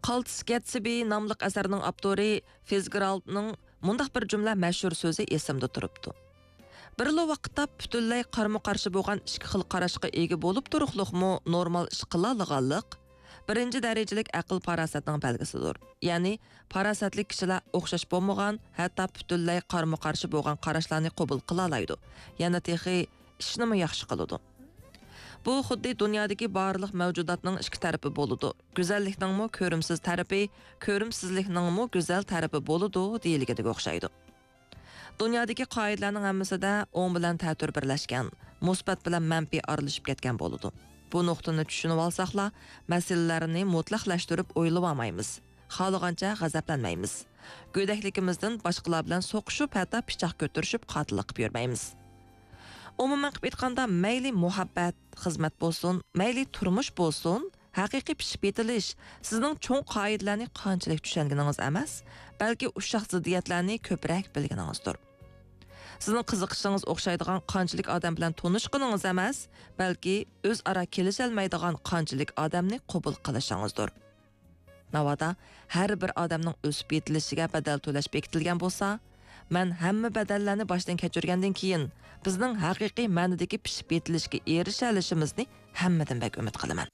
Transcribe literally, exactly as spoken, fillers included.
قالتىس گەتسبى ناملىق ئەسەرنىڭ ئاپتورى فىتزگېرالدنىڭ مۇنداق بىر جۈملە مەشھۇر سۆزى ئېسىمدە تۇرۇپتۇ: بىرلا ۋاقىتتا پۈتۈنلەي قارىمۇ قارشى بولغان ئىككى خىل قاراشقا ئىگە بولۇپ تۇرۇقلۇقمۇ نورمال ئىش قىلالىغانلىق بىرىنچى دەرىجىلىك ئەقىل پاراسەتنىڭ بەلگىسىدۇر. يەنى پاراسەتلىك كىشىلەر ئوخشاش بولمىغان، ھەتتا پۈتۈنلەي قارىمۇ قارشى بولغان قاراشلارنى قوبۇل قىلالايدۇ. يەنە تېخى ئىشنىمۇ ياخشى قىلىدۇ. بۇ خۇددى دۇنيادىكى بارلىق مەۋجۇداتنىڭ ئىككى تەرىپى بولىدۇ. گۈزەللىكنىڭمۇ كۆرۈمسىز تەرىپى، كۆرۈمسىزلىكنىڭمۇ گۈزەل تەرىپى بولىدۇ دېيىلگىنىگە ئوخشايدۇ. دۇنيادىكى قائىدىلەرنىڭ ھەممىسىدە ئوڭ بىلەن تەتۈر بىرلەشكەن، مۇسبەت بىلەن مەنپىي ئارىلىشىپ كەتكەن بولىدۇ. بۇ نۇقتىنى چۈشىنىۋالساقلا، مەسىلىلەرنى مۇتلەقلەشتۈرۈپ ئويلىۋالمايمىز. خالىغانچە غەزەپلەنمەيمىز. گۆدەكلىكىمىزدىن باشقىلار بىلەن سوقۇشۇپ، ھەتتا پىچاق كۆتۈرۈشۈپ، قاتىللىق قىلىپ يۈرمەيمىز. ئومۇمەن قىلىپ ئېيتقاندا، مەيلى مۇھەببەت، خىزمەت بولسۇن، مەيلى تۇرمۇش بولسۇن، ھەقىقىي پىشىپ يېتىلىش سىزنىڭ چوڭ قائىدىلەرنى قانچىلىك چۈشەنگىنىڭىز ئەمەس، بەلكى ئۇششاق زىددىيەتلەرنى كۆپرەك بىلگىنىڭىزدۇر. سىزنىڭ قىزىقىشىڭىز ئوخشايدىغان قانچىلىك ئادەم بىلەن تونۇشقىنىڭىز ئەمەس، بەلكى ئۆزئارا كېلىشەلمەيدىغان قانچىلىك ئادەمنى قوبۇل قىلىشىڭىزدۇر. ناۋادا ھەر بىر ئادەمنىڭ ئۆسۈپ يېتىلىشىگە بەدەل تۆلەش بېكىتىلگەن بولسا، مەن ھەممە بەدەللەرنى باشتىن كەچۈرگەندىن كېيىن، بىزنىڭ ھەقىقىي مەنىدىكى پىشىپ يېتىلىشكە ئېرىشەلىشىمىزنى ھەممىدىن بەك ئۈمىد قىلىمەن.